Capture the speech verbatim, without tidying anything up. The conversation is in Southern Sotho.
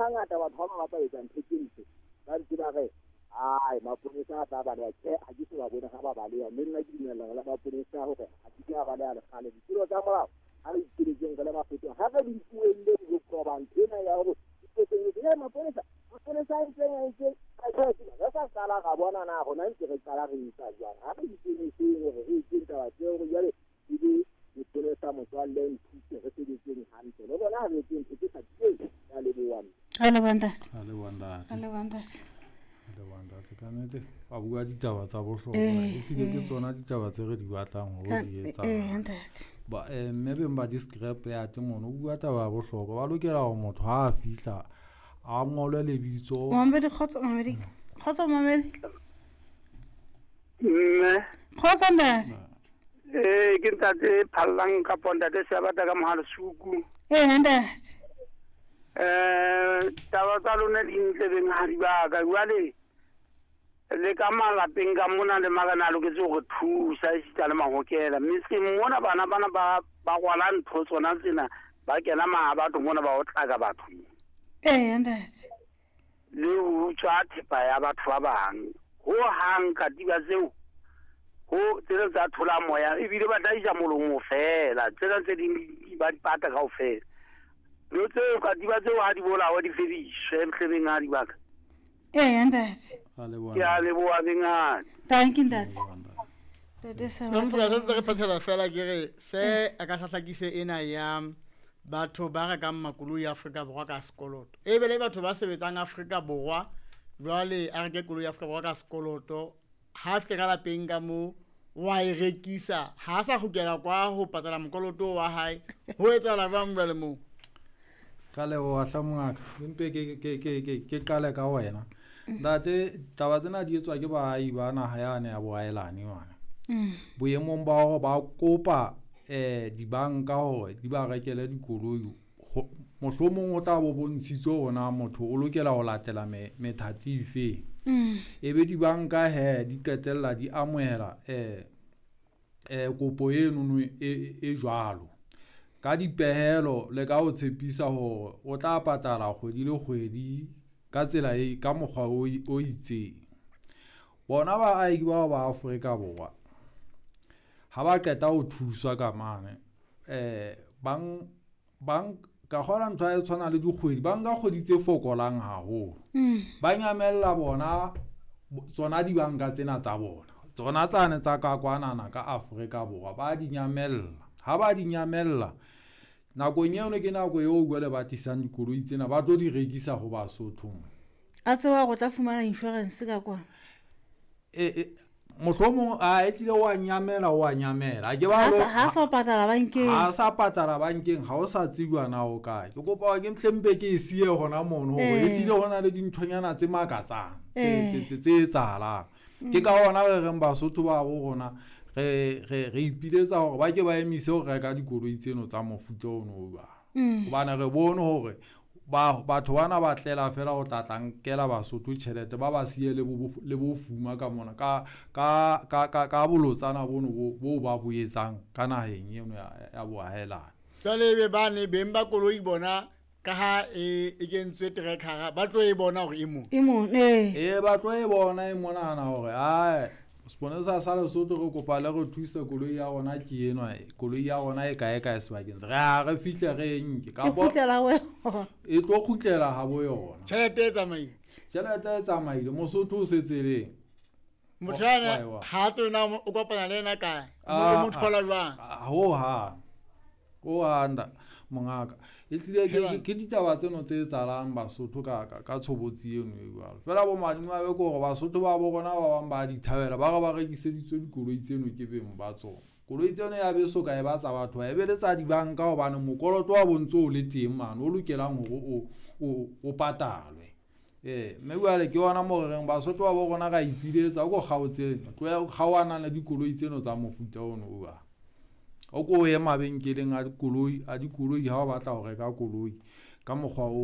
Hangata batho ba bang ba tla etsa ntho tse ntle, ba ntse ba re ai maponesa a tla baleha. Tjhe, ha ke so ba bone ha ba baleha, mme nna ke dumellana le maponesa hore ha ke ke a baleha lekgale. Ditulo tsa molao ha re ipeletseng re le Basotho, ha re di tlohelleng ho qoba ntho ena ya hore e maponesa maponesa a entseng a entseng re sa qala ra bona na rona ntse re qala re etsa jwang. Ha re ikemiseng hore re etseng taba tseo, hore jwale ebe lepolesa motswalle nthuse re sebetseng hantle le bona, ha re etseng ntho tse sa tleng. Ya leboha. Re leboha, ntate. A leboha, ntate. Re leboha, ntate. A leboha, ntate. Ka nnete ba bua ditaba tsa bohlokwa. Eh, ehlile ke eh. tsona ditaba tse re di batlang hore Ka- di eh etsahala. Ntate. Ba eh, mme beng ba di-scrap yard mono o bua taba ya bohlokwa. Ba lokela hore motho ha a fihla a ngolwe lebitso. Mamedi, kgotso mamedi, kgotso mamedi. Mme. Kgotso, ntate. Ee, ke ntate Phallang kapo ntate Seabata ka Mohalesuku. Ee, ntate. um taba tsa lona di ntle, benghadi ba ka. Jwale le ka malapeng ka mona le marena a loketse hore thusa, esita le mahokela metseng mona. Bana bana ba ba rwala ntho tsona tsena, ba kena maha batho mona, ba otlaka batho. Ee, ntate. Le ho utswa thepa ya batho ba bang ho hang. Katiba tseo ho tsena tsa thola moya, ebile ba tla isa molomo fela. Tsena tse ding di- ba di pata kaofela. Ntho tseo, katiba tseo, ha di bolawa, di fediswe hlebeng ha di baka. Ee, ntate. A leboha. Ke a leboha, benghadi. Thank you, ntate. Leboha, ntate. Ntate Seabata. Nomfula, santse re phethela fela, ke re se a ka hlahlakise ena ya batho ba rekang makoloi Afrika Borwa ka sekoloto, e be le batho ba sebetsang Afrika Borwa. Jwale a reke koloi Afrika Borwa ka sekoloto, ha fihle ka lapeng ka mo wa e rekisa, ha a sa kgutlela kwa ho patala mokoloto wa hae. Ho etsahala jwang jwale moo? Ka leboha hle, mongaka. Empe ke ke ke ke ke qale ka wena, ntate. Taba tsena di etswa ke baahi ba naha yane ya boahelane mane, boemong ba hore ba kopa eh dibanka hore di ba rekele dikoloi. Ho- mohlomong o tla bo bontshitswe hore na motho o lokela ho latela me- methati efeng, e be dibanka he di qetella di amohela eh eh kopo enono e e jwalo ka dipehelo le ka ho tshepisa hore o tla patala kgwedi le kgwedi ka tsela e ka mokgwa o i- o itseng. Bona baahi bao ba Afrika Borwa ha ba qeta ho thuswa ka mane, eh bang bang ka kgola ntho e tshwana le dikgwedi, ba nka kgwedi tse fokolang haholo, ba nyamella bona bo- tsona dibanka tsena tsa bona, tsona tsane tsa ka kwanana ka Afrika Borwa, ba di nyamella. Ha ba di nyamella nakong eno, ke nako eo jwale ba tlisang dikoloi tsena, ba tlo di rekisa ho Basotho mo. A tseba hore o tla fumana insurance ka kwana. e, e, mohlomong a e tlile wa nyamela, wa nyamela. Ha ke ba ha lo- sa- ha sa o patala bankeng. Ha sa patala bankeng, ha o sa tsejwa na o kae. Ke kopa hore ke mhlempe ke e siye hona mono, hore Eh. e tlile ho na le dinthonyana tse makatsang tse Eh. tse- tse tse etsahalang. Ke ka hona re reng Basotho ba bo rona re re re ipiletsa hore ba ke ba emise ho reka dikoloi tseno tsa mofuta ono o jwalo, hobane re bone hore ba batho bana ba tlela fela ho tla tla nkela Basotho tjhelete, ba ba siye le bo le bofuma ka mona, ka ka ka ka ka bolotsana bono bo bo ba bo etsang ka naheng eno ya ya boahelani. Jwale ebe bane beng ba koloi bona, ka ha e e kentswe trackera, ba tlo e bona hore e mo E mo ee. Ee, ba tlo e bona e monana hore ae, seponesa sa Lesotho, re kopa le re thuse, koloi ya rona ke enwa, koloi ya rona e kae kae sebakeng, re a re fihle re e nke. E Kapo kgutlela ho yona. E tlo kgutlela ha bo yona. Tjhelete e tsamaile. Tjhelete e tsamaile, Mosotho o setseleng. Motho Wa- yana wa- wa. ha tswe na o kopana le yena kae? Ah, O mo thola jwang? ah, ho hang, ho hang da mongaka, ehlile ke- Helang. ke ke ditaba tseno tse etsahalang Basotho ka ka ka tshobotsi eno e jwalo. Fela bo madimabe ke hore Basotho ba bo rona ba bang ba di thabela, ba re ba rekiseditswe dikoloi tseno ke beng ba tsona. Koloi tseno ya beso ka e ba tsa batho, e be le tsa dibanka, hobane mokoloto wa bo ntso o le teng mane o lokelang hore o o o patalwe. Ee, mme jwale ke yona mo re reng Basotho ba bo rona ra ipiletsa, o ko kgaotse, tloha kgaohanang le dikoloi tseno tsa mofuta ono o jwalo. O ko ye mabenkeleng a dikoloi a dikoloi ha o batla ho reka koloi ka mokgwa o.